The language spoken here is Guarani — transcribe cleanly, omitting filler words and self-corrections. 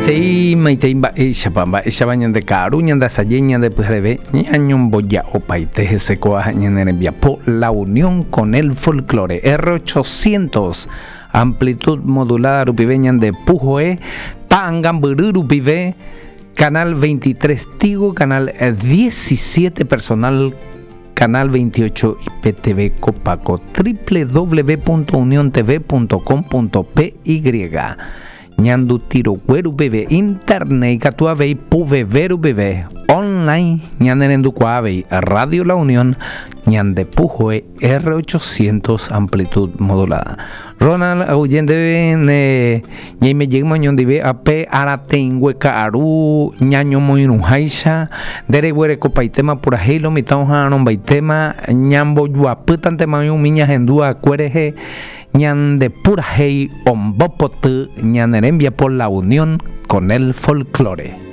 Maitei, maitei mba'éichapa, mba'éichapa ñande ka'aru, ñande asaje, ñande pyhareve, ñañomboja'opaite hese ko'ã ñane rembiapo La Unión con el Folklore, R800, amplitud modulada rupive ñande puhoe, ta'angambyry rupive, canal 23 Tigo, canal 17 Personal, canal 28 IPTV Copaco, www.uniontv.com.py Ñanduti rogue rupive, internet ikatu avei puveve rupive, online ñanerendukuaa avei Radio La Unión ñande puhoe R800 amplitud modulada. Ronald, aguyje ndéve ne ñaime jeýma oñondive ape arateĩngue ka'aru ñañomoirũháicha, nde reguerekopaitéma purahéi lo mitã oha'arõmbaitéma, ñambojuapýtantema oĩ umi ñahendu akue rehe Ñande purahéi ombopoty ñane rembiapo La Unión con el Folklore.